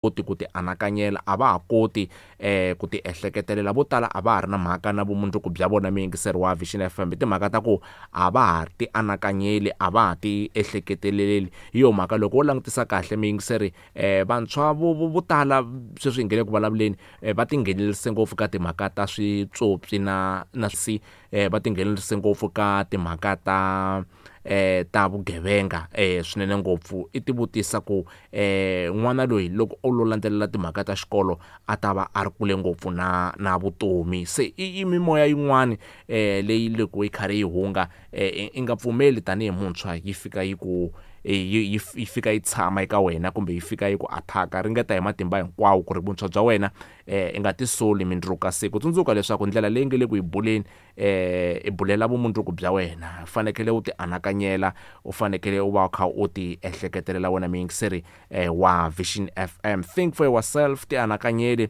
Koti ku ti anakanyela, a va ha koti ku ti ehleketelela. Vo tala a va ha ri na mhaka na vumundzuku bya vona muyingiseri wa Vision FM hi timhaka ta ku a va ha ti anakanyeli, a va ha ti ehleketeleli. Hi yo mhaka loko wo langutisa kahle muyingiseri vantshwa vo vo vo tala sweswi hi nge le ku vulavuleni va tinghenelerisa ngopfu ka timhaka ta switswotswi na na va tinghenelerisa ngopfu ka timhaka ta ta vugevenga swinene ngopfu. I ti vutisa ku n'wana loyi loko o lo landzelela timhaka ta xikolo a ta va a ri kule ngopfu na na vutomi. Se i mimoya yin'wani leyi loko yi karhi yi hunga i nga pfumeli tanihi muntshwa yi fika yi ku yi yi fika yi tshama eka wena kumbe yi fika yi ku attack-a. Ringeta hi matimba hinkwawo ku ri vuntshwa bya wena i nga tisoli mindzuku ka siku. Tsundzuka leswaku ndlela leyi nge le ku yi buleni i bulela vumundzuku bya wena. U fanekele u ti anakanyela, u fanekele u va u kha u ti ehleketelela wena muyingiseri wa Vision FM. Think for yourself, ti anakanyeli.